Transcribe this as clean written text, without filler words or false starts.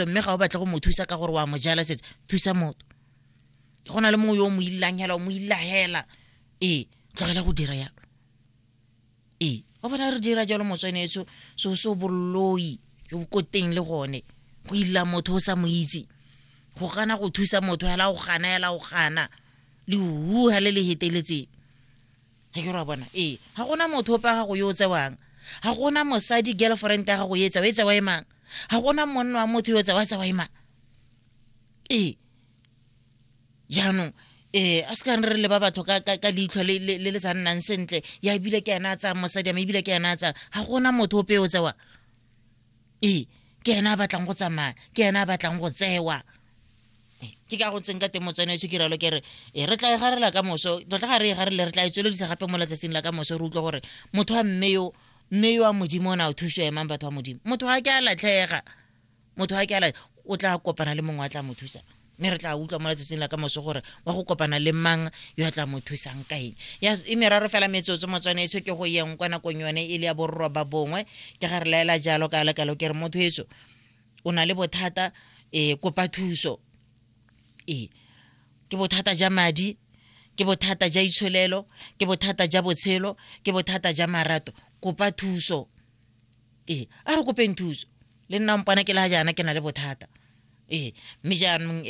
Mme ga o batle go mo thusa ka gore wa mo jala setse, thusa motho. Go na le mongwe yo o mo illang hela, o mo illa hela. Ee, tlogela go dira yalo. Ee, wa bona re dira jalo motswanetso, so so boloi jo bo ko teng le gone. Go illa motho o sa mo itse, go gana go thusa motho hela, o gana hela, o gana le uha le le heteletseng. Ga ke re wa bona. Ee, ga gona motho ope wa gago yo o tsewang, ga gona mosadi girlfriend ya gago e tsewa, e tsewa e mang, ga gona monna wa motho yo o tsewa, tsewa e mang. Ee, jaanong a se ka re leba batho ka leitlho le le sa nnang sentle, ya ebile ke ena a tsayang mosadi ame, ebile ke ena a tsayang, ga gona motho ope yo o tsewang. Ee, ke ena a batlang go tsamaya, ke ena a batlang go tsewa. Ke ka go tseng ka teng motswana, ke ralo ke re e re tla e garela ka moso tota, ga re e garele, re tla e tsweledisa gape mo letsatsing la ka moso, re utlwe gore motho wa mme yo, mme yo wa Modimo o ne a thuso emang. Batho wa Modimo, motho ga ke a latlhega, motho ga ke a o tla kopana le mongwe a tla mo thusa, mme re tla utlwa mo letsatsing la ka moso gore wa go kopana le mang yo a tla mo thusang ka eng. Ya e meraro fela metsotso motswanetso ke go yeng kwa nakong yone e le ya 9:30. Ke ga re laela jalo ka lekalo, ke re motho etso o na le bothata, kopa thuso. Ee, ke bothata ja madi, ke bothata ja itsholelo, ke bothata ja botshelo, ke bothata ja marato, kopa thuso. Ee, a re kopeng thuso. Le nna mpona ke le ga jaana ke na le bothata. Ee, mme jaanong